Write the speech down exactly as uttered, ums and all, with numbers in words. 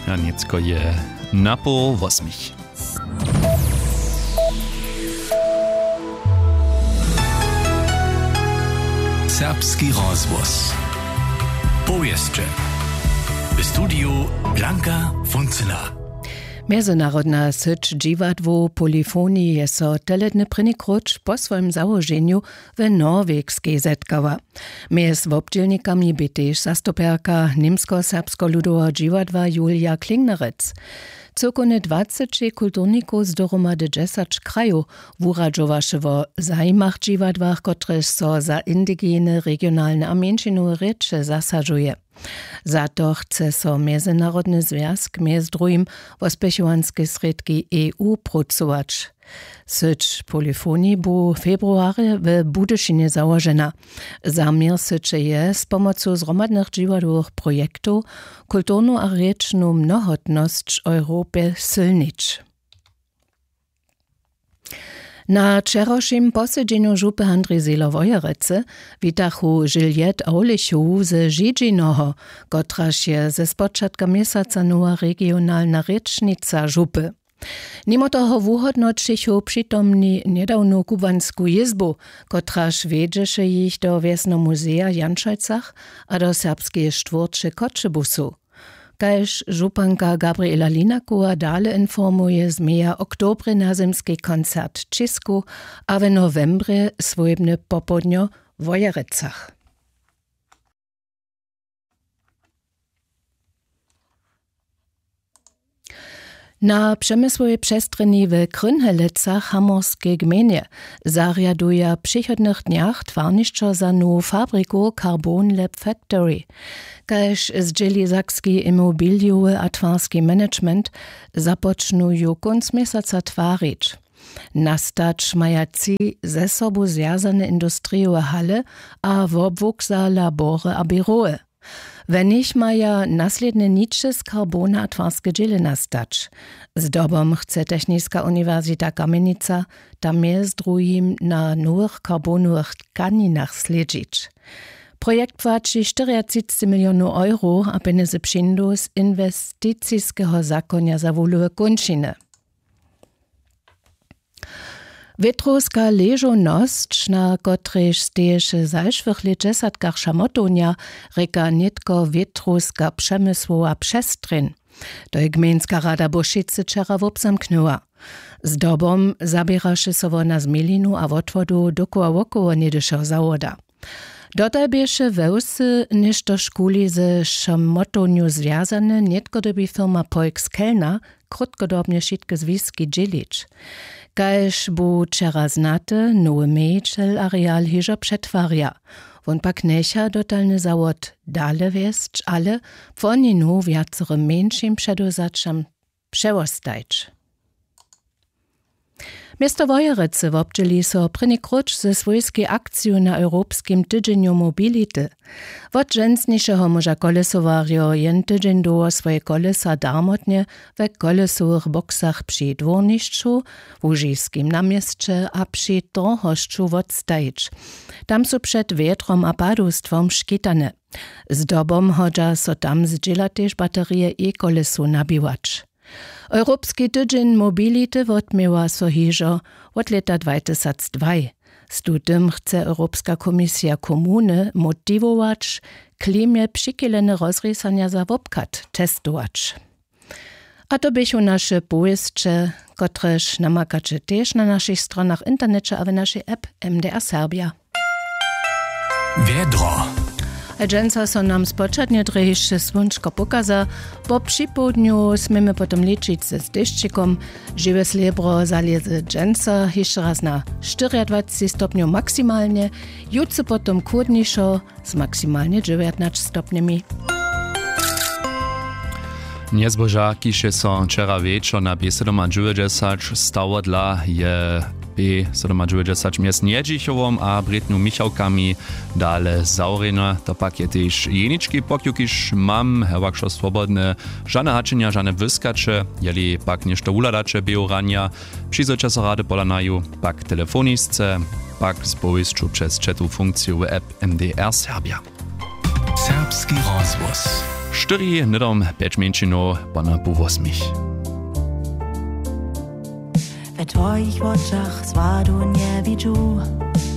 A nětko je na poł wosmich. Serbski rozhłos. Powěsće. W studiju Blanka Funcyna. Mjezynarodna syć dźiwadłow Polyphony je so teledny prěni króć po swojim załoženju w Norwegskej zetkała. Mjez wobdźělnikami bě tež zastupjerka Němskoserbskeho ludoweho dźiwadła Julia Klingnerec. Cyłkownje dwaceći kulturnikow z dohromady dźesać krajow wuradźowaše wo zajimach dźiwadłach, kotrež so za indigene regionalne a mjeńšinowe rěče zasadźuje. Za to chce so mjezynarodny zwjazk mjez druhim wo spěchowanske srědki E U prócować. Syć Polyphony bu februarje w Budyšinje załožena. Zaměr syće je z pomocu zhromadnych dźiwadłowych projektow kulturnu a rěčnu mnohotnosć w Europje sylnić. Na wčerawšim posedźenju župy Handrij Zelo Wojerecy witachu Juliette Awlichowu ze Židźinoho, kotraž je ze spočatka měsaca nowa regionalna rěčnica župy. Nimo toho wuhódnoćichu přitomni njedawnu kubłansku jězbu, kotraž wjedźeše jich do wjesneho muzeja w Janšojcach a do serbskeje štwórće Choćebuzow. Kaž županka Gabriela Linakowa dale informuje, změja w oktobrje nazymski koncert w Čěsku a w nowembrje swójbne popołdnjo w Wojerecach. Na přemysłowej přestrjeni w Krynhelecach, hamorskej gmejnje, zarjaduja w přichodnych dnjach twarnišćo za nowu fabriku Carbon Lab Factory. Kaž zdźěli sakski imobilijowy a twarski management, započnu ju kónc měsaca twarić. Nastać maja tři ze sobu zwjazane industrijowe hale a wobłuk za labory a běrowy. We nich maja naslědnje niče z karbona a twarske dźěle nastać. Zdobom chce Techniska uniwersita Kamjenica tam mjez druhim na nowych karbonowych tkaninach slědźić. Projekt płaći štyriatřicci milionow euro a pjenjezy přińdu z inwesticiskeho zakonja za wuhlowe kónčiny. Wětrowska ležownosć, na kotrejž steješe w zašłych lětdźesatkach šamotownja, rěka nětko wětrowska přemysłowa přestrjeń. To je gmejnska rada Bušicy wčera wobzamknyła. Zdobom zaběraše so wona z mělinu a wotwodu dokoła wokoło něhdyšeho zawoda. Dotal běše we wsy něštožkuli ze šamotownju zwjazane, nětko dyrbi firma Polk z Kelna krótkodobnje wšitke zwiski dźělić. Kaž bu wčera znate, nowy mějićel areal hižo přetwarja. Wón pak njecha dotalny zawod dale wjesć, ale płoninu wjacorym mjeńšim předewzaćam přewostajć. Město Wojerecy wobdźěli so prěni króć ze swójskej akciju na Europskim tydźenju mobility. Wot dźensnišeho móža kolesowarjo jen tydźeń dołho swoje kolesa darmotnje we kolesowych boksach při dwórnišću, łužiskim na měsće a při torhosću wotstajić. Tam su před wjetrom a padowstwom škitane. Zdobom hodźa so tam zdźěla tež baterije e-kolesow nabiwać. Europski tydźeń mobility wotměła so hižo wot lěta dwatysacdwaj. Z tutym chce Europska komisija komuny motiwować, klimje přichylene rozrisanja za wobchad testować. A to běchu naše powěsće, kotrež namakaće tež na našich stronach w interneće a w našej app M D R Serbia. Wjedro. A dźensa so nam spočatnje drje hišće słónčko pokaza. Po připołdnju směmy potom ličić z dešćikom. Žiwe slěbro zalěze dźensa hišće raz na štyriadwacci stopnjow maksimalnje, jutře potom chłódnišo z maksimalnje dźewjatnaće stopnjemi. Njezboža, kiž je so wčera wječor na B sydomadźewjećdźesać stało dla, je B sydomadźewjećdźesać mjez Njedźichowom a Brětnju Michałkami dale zawrjene. To pak je tež jenički pokju, kiž mam, hewak wšo swobodne, žane hačenja, žane błyskaće. Jeli pak něšto wuhladaće běhu ranja, přizwójće so rady pola naju, pak telefonisce, pak z powěsću přez chatowu funkciju w app M D R Serbia. Serbski rozhłos. Štyri hnydom pjeć mjeńšinow pona pół wosmich. We twojich wočach swadu njewidźu.